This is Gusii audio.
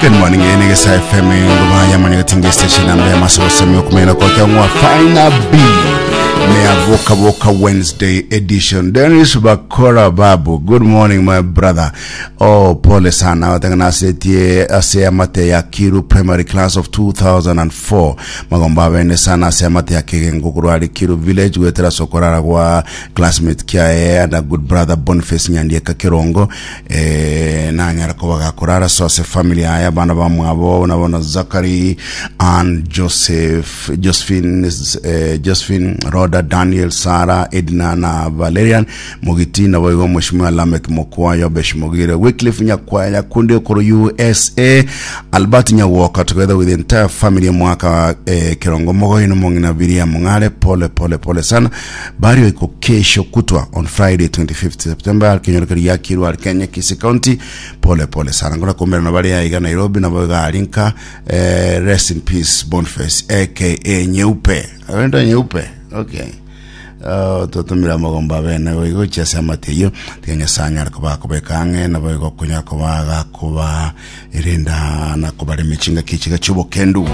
Good morning, ene Gesa FM ngoba ya manyagatinge station namba ya masobosa myokumena kwa kyangwa Fina B Mea Voka Wednesday edition. Dennis Bakora Babu, good morning my brother. Oh, pole sana watangana asetie ase amate ya Kiru Primary Class of 2004. Magomba abene sana ase amate ya Kegengo kurwari Kiru Village gwetera sokorara gwa classmate kiaye and a good brother Boniface Nyandieka Kirongo eh, nanyara koba gakorara so ase family yaye abana bamwabo nabona Zachary and Joseph Josephine eh, Josephine Rhoda Daniel Sarah Edna na Valerian Mogiti nabo igo Mheshimiwa Lamek Mokwa Yobesh Mogire Wycliffe Nyakwaya Nyakundi okoro USA Albert Nyagwoka together with the entire family mwaka eh, Kirongo Mogoino Mong'ina Biria Mong'are pole pole pole sana Bario iko kesho kutwa on Friday 25th September alkenyorokeri yakirwa Kenya Kisii County pole pole sana ngora kumbera na bari aiga Nairobi na boiga arinka eh, rest in peace Boniface aka Nyeupe agenda Nyeupe okay Uh, totumira amagomba abene goigo chiase amate eyio tiga Nyasaye anyare koba akobeka ang'e nabo igo okonyara koba agakoba erenda na kobaremia chingaki chiga chiobokendu.